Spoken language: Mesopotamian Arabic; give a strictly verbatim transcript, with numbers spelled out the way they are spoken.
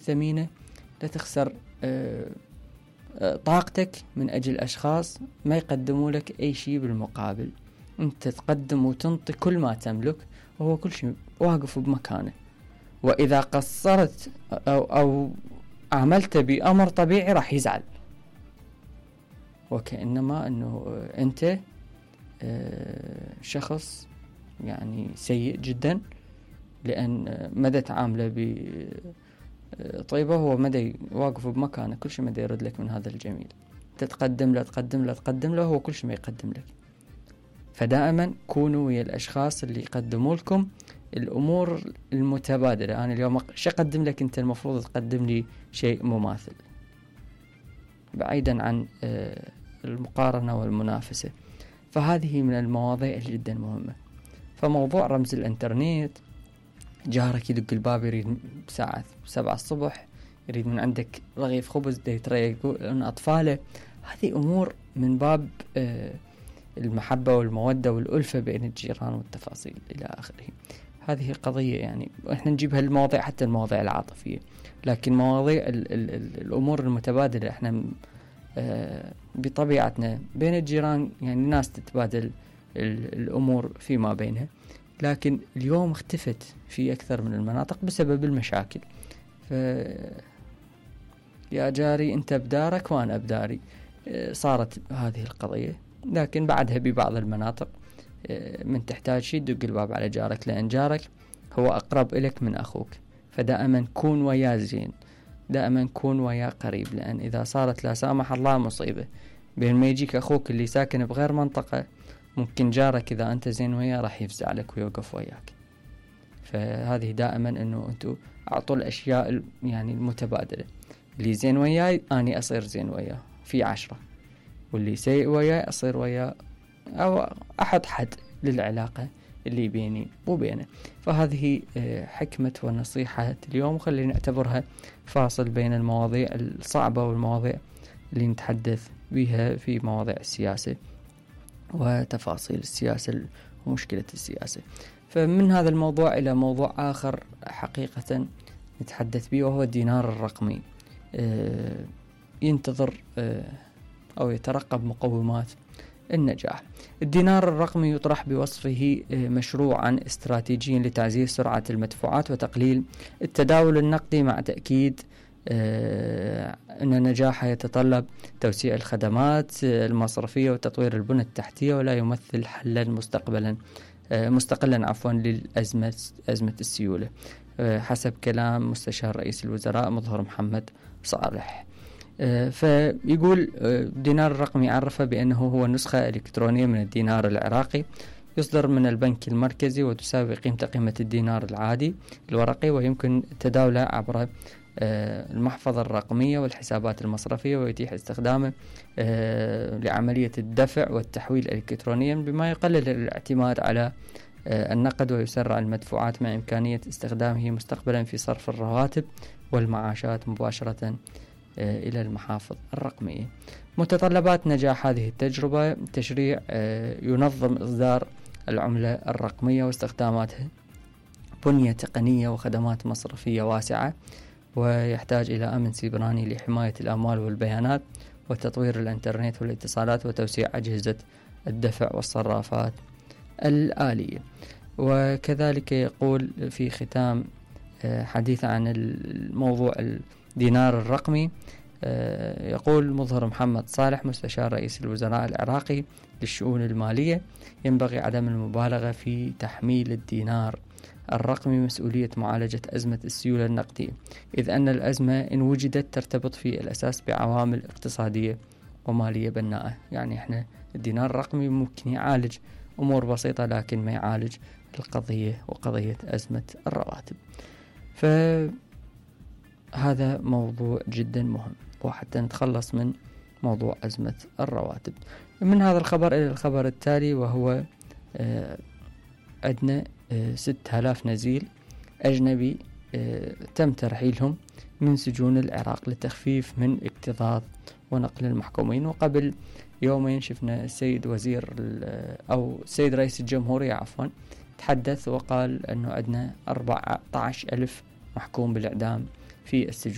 ثمينة، لا تخسر طاقتك من أجل أشخاص ما يقدموا لك أي شيء بالمقابل. أنت تقدم وتنطي كل ما تملك، وهو كل شيء واقف بمكانه. وإذا قصرت أو, أو عملت بأمر طبيعي راح يزعل، وكأنما أنه أنت شخص يعني سيء جدا، لأن مدى تعامله بطيبة هو مدى واقف بمكانه، كل شيء مدى يرد لك من هذا الجميل. تتقدم له تقدم له تقدم له، هو كل شيء ما يقدم لك. فدائما كونوا ويا الأشخاص اللي يقدموا لكم الأمور المتبادلة. أنا اليوم شو أقدم لك، أنت المفروض تقدم لي شيء مماثل، بعيدا عن المقارنة والمنافسة. فهذه من المواضيع جدا مهمة. فموضوع رمز الانترنت، جارك يدق الباب يريد ساعة سبعة الصبح يريد من عندك رغيف خبز دي تريق أطفاله، هذه أمور من باب المحبة والمودة والألفة بين الجيران والتفاصيل إلى آخره. هذه قضية يعني إحنا نجيبها المواضيع، حتى المواضيع العاطفية، لكن مواضيع ال ال ال الأمور المتبادلة إحنا آه بطبيعتنا بين الجيران يعني ناس تتبادل الأمور فيما بينها، لكن اليوم اختفت في أكثر من المناطق بسبب المشاكل. ف يا جاري أنت بدارك وأنا بداري، آه صارت هذه القضية. لكن بعدها ببعض المناطق آه من تحتاج شيء دق الباب على جارك، لأن جارك هو أقرب إليك من أخوك. فدائما كون وياه زين، دائما كون وياه قريب، لأن إذا صارت لا سامح الله مصيبة بين ما يجيك أخوك اللي ساكن بغير منطقة، ممكن جارك إذا أنت زين وياه راح يفزع لك ويوقف وياك. فهذه دائما أنه أنتوا أعطوا الأشياء يعني المتبادلة، اللي زين وياي أني أصير زين وياه في عشرة، واللي سيء وياي أصير وياه، أو أحط حد للعلاقة اللي بيني وبينه. فهذه حكمة ونصيحة اليوم، وخلينا نعتبرها فاصل بين المواضيع الصعبة والمواضيع اللي نتحدث بها في مواضيع السياسة وتفاصيل السياسة ومشكلة السياسة. فمن هذا الموضوع إلى موضوع آخر حقيقة نتحدث به، وهو الدينار الرقمي. ينتظر أو يترقب مقومات النجاح. الدينار الرقمي يطرح بوصفه مشروعا استراتيجيا لتعزيز سرعة المدفوعات وتقليل التداول النقدي، مع تأكيد أن نجاحه يتطلب توسيع الخدمات المصرفية وتطوير البنى التحتية، ولا يمثل حلا مستقبلا مستقلا عفوا للأزمة أزمة السيولة، حسب كلام مستشار رئيس الوزراء مظهر محمد صالح. فيقول الدينار الرقمي عرف بأنه هو نسخة إلكترونية من الدينار العراقي، يصدر من البنك المركزي، وتساوي قيمة قيمة الدينار العادي الورقي، ويمكن تداوله عبر المحفظة الرقمية والحسابات المصرفية، ويتيح استخدامه لعملية الدفع والتحويل إلكترونيا، بما يقلل الاعتماد على النقد ويسرع المدفوعات، مع إمكانية استخدامه مستقبلا في صرف الرواتب والمعاشات مباشرة إلى المحافظ الرقمية. متطلبات نجاح هذه التجربة: تشريع ينظم إصدار العملة الرقمية واستخداماتها، بنية تقنية وخدمات مصرفية واسعة، ويحتاج إلى أمن سيبراني لحماية الأموال والبيانات، وتطوير الإنترنت والاتصالات، وتوسيع أجهزة الدفع والصرافات الآلية. وكذلك يقول في ختام حديث عن الموضوع الدينار الرقمي، يقول مظهر محمد صالح مستشار رئيس الوزراء العراقي للشؤون المالية: ينبغي عدم المبالغة في تحميل الدينار الرقمي مسؤولية معالجة أزمة السيولة النقدية، إذ أن الأزمة إن وجدت ترتبط في الأساس بعوامل اقتصادية ومالية بناءة. يعني إحنا الدينار الرقمي ممكن يعالج أمور بسيطة، لكن ما يعالج القضية وقضية أزمة الرواتب. فهذا موضوع جدا مهم، وحتى نتخلص من موضوع أزمة الرواتب. من هذا الخبر إلى الخبر التالي، وهو آه عندنا آه ستة آلاف نزيل أجنبي آه تم ترحيلهم من سجون العراق لتخفيف من اكتظاظ ونقل المحكومين. وقبل يومين شفنا السيد وزير أو السيد رئيس الجمهورية عفوا تحدث وقال أنه عندنا أربعة عشر ألف محكوم بالإعدام في السجون.